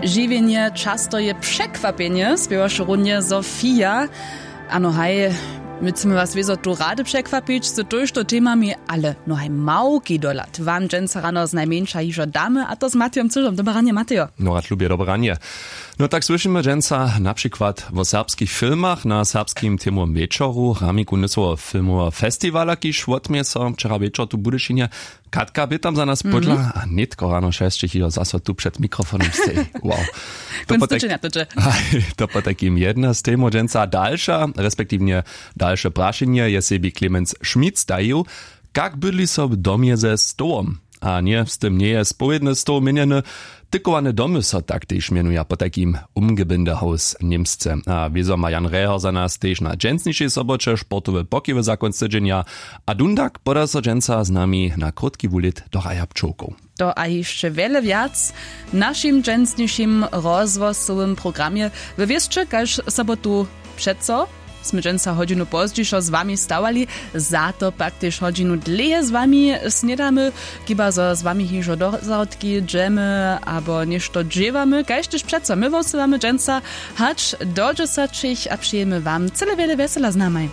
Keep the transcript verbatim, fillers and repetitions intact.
Žiwjenje často je překwapjenje, spěwaše runje Sofia. Ano haj, my chcemy was wězo tu rady překwapić z tójšto temami, ale no haj małki dohlad wam dźensa rano znajmjeńša hižo damy, a to z Matejom Cyžom. Dobre ranje, Matejo. No rad lubje, dobre ranje. No tak słyšimy dźensa na přikład wo serbskich filmach na serbskim temowym wječoru ramiku nysoweho filmoweho festiwala, kiž wotměje so wčera wječor tu w Budyšinje. Katka bě tam za nas pódla a nětko rano šesćich hižo zaso tu před mikrofonom stej. Wow. To potajkim jedna z temow dźensa. Dalša respektiwnje dalše prašenje je sebi Clemens Schmitz dajił: Kak bydli so w domje ze stołom? A ně, z tym njeje spowědny stoł měnjeny. Tykowane domy so tak tež mjenuja potajkim Umgebindehaus němsce. A wězo ma Jan Reher za nas tež na dźensnišej soboće sportowe pokiwy za kónc tydźenja. A dundak poda so dźensa z nami na krótki wulit do raja pčołkow. To a hišće wjele wjac w našim dźensnišim rozhłosowym programje. Wy wěsće, kaž sobotu přeco smy dźensa hodźinu pozdźišo z wami stawali, za to pak tež hodźinu dlěje z wami snědamy, chiba zo z wami hižo do zahrodki dźemy abo něšto dźěłamy, kaž tež přeco my wosylamy dźensa hač do dźesaćich a přejemy wam cyle wjele wjesela z namaj.